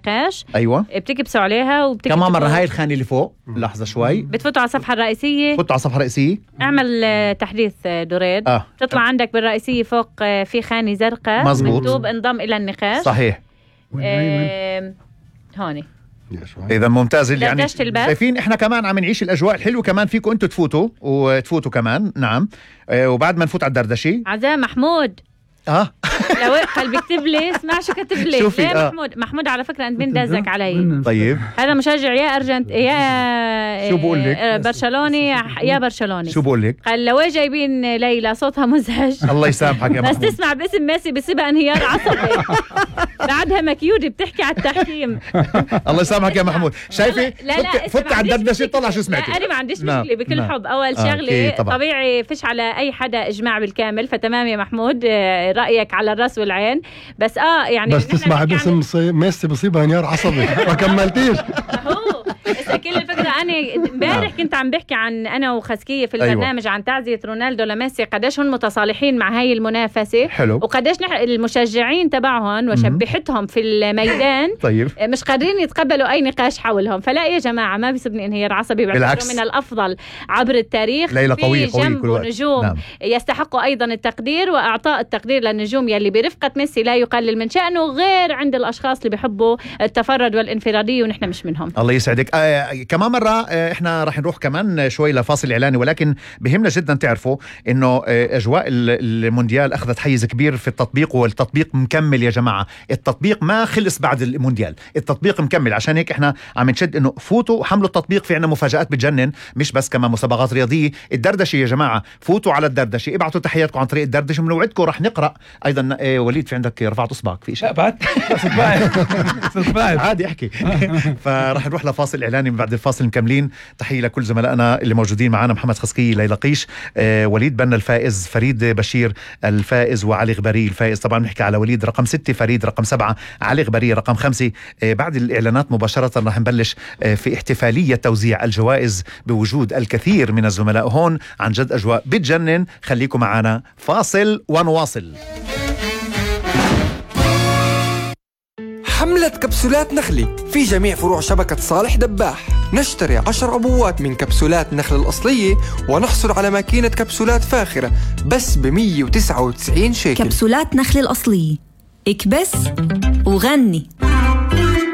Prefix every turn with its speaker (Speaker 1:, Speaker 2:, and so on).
Speaker 1: النقاش.
Speaker 2: أيوة.
Speaker 1: بتكبسوا عليها
Speaker 2: كمان مرة هاي الخانة اللي فوق، لحظة شوي،
Speaker 1: بتفوتوا على الصفحة الرئيسية.
Speaker 2: فوتوا على الصفحة الرئيسية،
Speaker 1: اعمل تحديث دريد. تطلع عندك بالرئيسية فوق في خانة زرقاء مكتوب انضم إلى النقاش.
Speaker 2: صحيح.
Speaker 1: هوني.
Speaker 2: إذا ممتاز. يعني شايفين إحنا كمان عم نعيش الأجواء الحلوة، كمان فيكم أنتوا تفوتوا كمان. نعم. وبعد ما نفوت على الدردشة
Speaker 1: عزام محمود لو قال بيكتب لي اسمع شو كتب لي. ليه محمود على فكرة أنت بندزك علي.
Speaker 2: طيب
Speaker 1: هذا مشجع يا
Speaker 2: شو بقول لك؟
Speaker 1: برشلوني يا برشلوني.
Speaker 2: شو بقول لك؟
Speaker 1: قال لو جايبين ليلى صوتها مزعج.
Speaker 2: الله يسامحك يا محمود.
Speaker 1: بس تسمع باسم ميسي بسبق انهيار عصبي. بعدها مكيودي بتحكي على التحكيم.
Speaker 2: الله يسامحك يا محمود. شايفة فت على الدردشة طلع شو سمعتي.
Speaker 1: أنا ما عنديش مشكلة بكل حب. أول شغلة طبيعي فيش على أي حدا إجماع بالكامل، فتمام يا محمود رأيك على الراس والعين. بس يعني
Speaker 3: بس تسمع باسم ميسي بصيبها انهيار عصبي ما كملتيش.
Speaker 1: كل الفكرة أنا امبارح كنت عم بحكي عن أنا وخسكية في البرنامج عن تعزية رونالدو لميسي، قديش هن متصالحين مع هاي المنافسة.
Speaker 2: حلو.
Speaker 1: وقديش المشجعين تبعهم وشبحتهم في الميدان
Speaker 2: طيب.
Speaker 1: مش قادرين يتقبلوا أي نقاش حولهم. فلا يا جماعة ما بيصيبني انهيار عصبي،
Speaker 2: بالعكس
Speaker 1: من الأفضل عبر التاريخ.
Speaker 2: ليلى قوية
Speaker 1: جنبه نجوم يستحقوا أيضا التقدير، وأعطاء التقدير للنجوم يلي برفقة ميسي لا يقلل من شأنه، غير عند الأشخاص اللي بيحبوا التفرد والانفرادية ونحن مش منهم.
Speaker 2: الله يسعدك. كمان مرة احنا راح نروح كمان شوي لفاصل إعلاني، ولكن بهمنا جدا تعرفوا انه اجواء المونديال اخذت حيز كبير في التطبيق، والتطبيق مكمل يا جماعة. التطبيق ما خلص بعد المونديال، التطبيق مكمل. عشان هيك احنا عم نشد انه فوتوا حملوا التطبيق، في عنا مفاجآت بتجنن، مش بس كمان مسابقات رياضية. الدردشة يا جماعة، فوتوا على الدردشة، ابعتوا تحياتكم عن طريق الدردشة، بنوعدكم راح نقرأ ايضا. وليد في عندك رفعت اصبعك في شيء؟
Speaker 4: بعد
Speaker 2: عادي احكي. فراح نروح لفاصل اعلاني، بعد الفاصل مكملين. تحية لكل زملائنا اللي موجودين معنا: محمد خسكي، ليلى قيش، وليد بنا الفائز، فريد بشير الفائز، وعلي غبري الفائز. طبعا نحكي على وليد رقم 6، فريد رقم 7، علي غبري رقم 5. بعد الإعلانات مباشرة راح نبلش في احتفالية توزيع الجوائز بوجود الكثير من الزملاء هون. عن جد أجواء بتجنن. خليكم معنا، فاصل ونواصل.
Speaker 5: حملة كبسولات نخلي في جميع فروع شبكة صالح دباح. نشتري 10 عبوات من كبسولات نخل الأصلية ونحصل على ماكينة كبسولات فاخرة بس ب199 شيكل.
Speaker 6: كبسولات نخل الأصلية، اكبس وغني.